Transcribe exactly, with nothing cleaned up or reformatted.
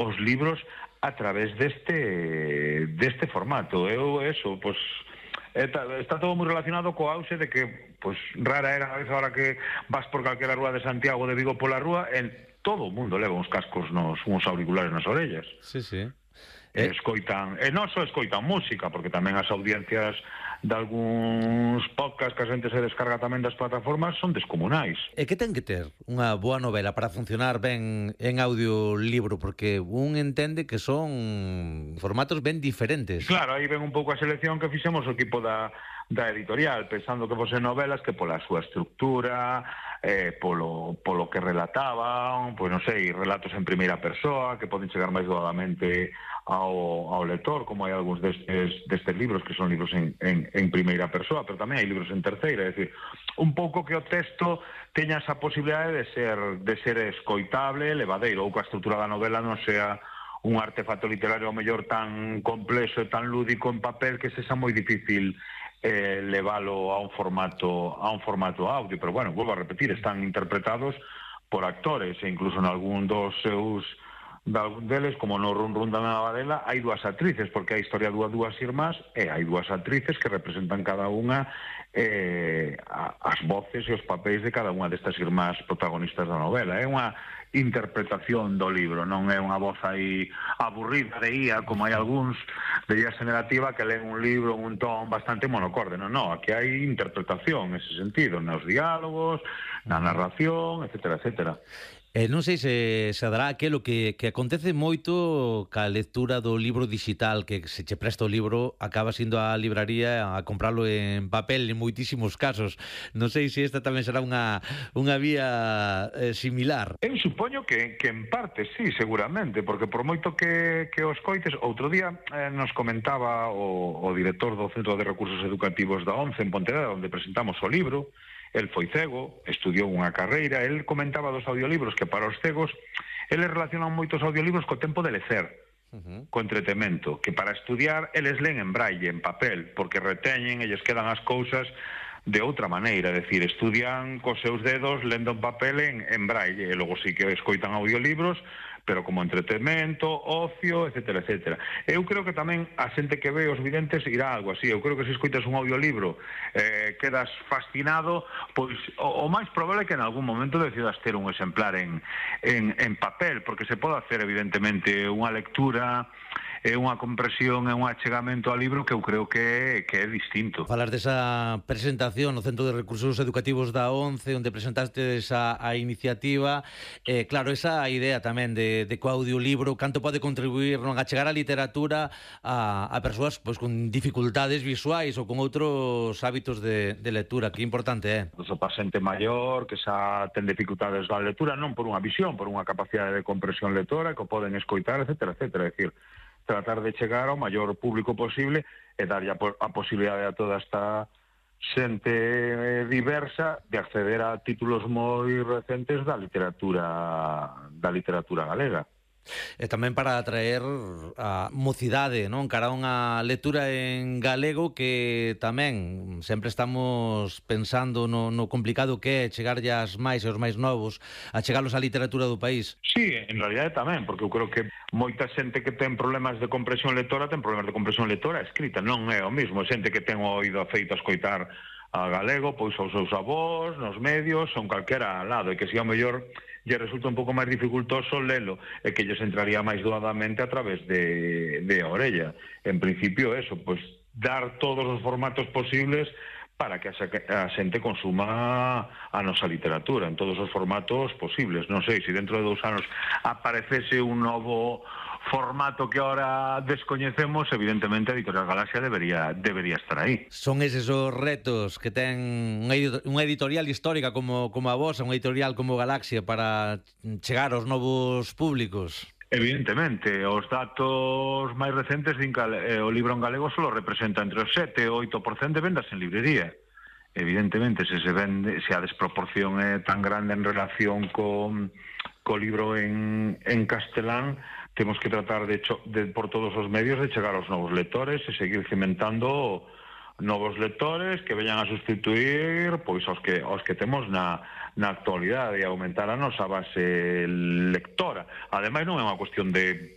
os libros a través deste deste formato. Eu, eso, pois, está, está todo moi relacionado co auxe de que, pois, rara era a vez agora que vas por calquera rúa de Santiago de Vigo pola rúa, en todo o mundo leva uns cascos, nos, uns auriculares nas orellas. Sí, sí. E escoitan, e non só escoitan música, porque tamén as audiencias de algúns podcasts que a xente se descarga tamén das plataformas son descomunais. E que ten que ter unha boa novela para funcionar ben en audiolibro? Porque un entende que son formatos ben diferentes. Claro, aí ven un pouco a selección que fixemos o equipo da, da editorial, pensando que fosen novelas que pola súa estructura, eh, polo, polo que relataban, pois non sei, relatos en primeira persoa, que poden chegar máis doadamente ao, ao lector, como hai algúns destes, destes libros que son libros en, en, en primeira persoa, pero tamén hai libros en terceira, é dicir, un pouco que o texto teña esa posibilidade de ser, de ser escoitable, levadeiro, ou que a estrutura da novela non sea un artefacto literario ao mellor tan complexo e tan lúdico en papel que sexa moi difícil eh, leválo a un formato a un formato audio, pero bueno, volvo a repetir, están interpretados por actores e incluso en algún dos seus de algún deles, como no Run Run da Navadela, hai dúas actrices, porque a historia dúa dúas irmás e hai dúas actrices que representan cada unha eh, as voces e os papéis de cada unha destas irmás protagonistas da novela. É unha interpretación do libro, non é unha voz aí aburrida de ía, como hai algúns de ía generativa que leen un libro en un ton bastante monocorde. Non, non, aquí hai interpretación nese sentido, nos diálogos, na narración, etcétera, etcétera. E non sei se, se dará aquelo que, que acontece moito ca lectura do libro digital, que se che presta o libro acabas indo á libraría a compralo en papel en moitísimos casos. Non sei se esta tamén será unha, unha vía eh, similar. Eu supoño que, que en parte sí, seguramente, porque por moito que, que os coites, outro día eh, nos comentaba o, o director do Centro de Recursos Educativos da ONCE en Pontevedra, onde presentamos o libro. El foi cego, estudiou unha carreira, el comentaba dos audiolibros que para os cegos, eles relacionan moitos audiolibros co tempo de lecer, uh-huh. co entretemento, que para estudiar eles leen en braille, en papel, porque reteñen e lles quedan as cousas de outra maneira, é dicir, estudian cos seus dedos lendo en papel en, en braille, e logo sí que escoitan audiolibros, pero como entretemento, ocio, etcétera, etcétera. Eu creo que tamén a xente que ve os videntes irá algo así. Eu creo que se escoitas un audiolibro eh, quedas fascinado, pois o, o máis probable é que en algún momento decidas ter un exemplar en, en, en papel, porque se pode hacer evidentemente unha lectura, é unha compresión e un achegamento ao libro que eu creo que, que é distinto. Falas desa presentación no Centro de Recursos Educativos da ONCE, onde presentaste esa a iniciativa, eh, claro, esa idea tamén de, de co audiolibro, canto pode contribuir non a chegar a literatura a, a persoas pois, con dificultades visuais ou con outros hábitos de, de lectura, que importante é. Eh? O paciente maior que xa ten dificultades da lectura, non por unha visión, por unha capacidade de compresión lectora, que o poden escoitar, etcétera, etcétera, é dicir, tratar de chegar ao maior público posible e darlle a, a posibilidade a toda esta xente diversa de acceder a títulos moi recentes da literatura da literatura galega. E tamén para atraer a mocidade, non? Cara a unha lectura en galego que tamén sempre estamos pensando no, no complicado que é chegarlle as máis e os máis novos, a chegarlos á literatura do país. Sí, en realidade tamén, porque eu creo que moita xente que ten problemas de compresión lectora ten problemas de compresión lectora escrita, non é o mismo, xente que ten o oído feito a escoitar a galego, pois aos seus avós, nos medios, son calquera lado, e que si ao mellor lle resulta un pouco máis dificultoso lelo, e que lles entraría máis doadamente a través de, de a orella. En principio, eso, pois dar todos os formatos posibles para que a xente consuma a nosa literatura en todos os formatos posibles. Non sei, se dentro de dous anos aparecese un novo formato que ahora descoñecemos, evidentemente a Editorial Galaxia debería debería estar aí. Son eses os retos que ten unha editorial histórica como, como a vosa, unha editorial como Galaxia, para chegar aos novos públicos? Evidentemente, os datos máis recentes din que o libro en galego só representa entre o sete e o oito por cento de vendas en librería. Evidentemente, se se vende, se a desproporción é tan grande en relación co, co libro en, en castelán, temos que tratar de, de por todos os medios de chegar aos novos lectores e seguir cimentando novos lectores que veñan a sustituir pois aos que aos que temos na na actualidade e aumentar a nosa base lectora. Ademais, non é unha cuestión de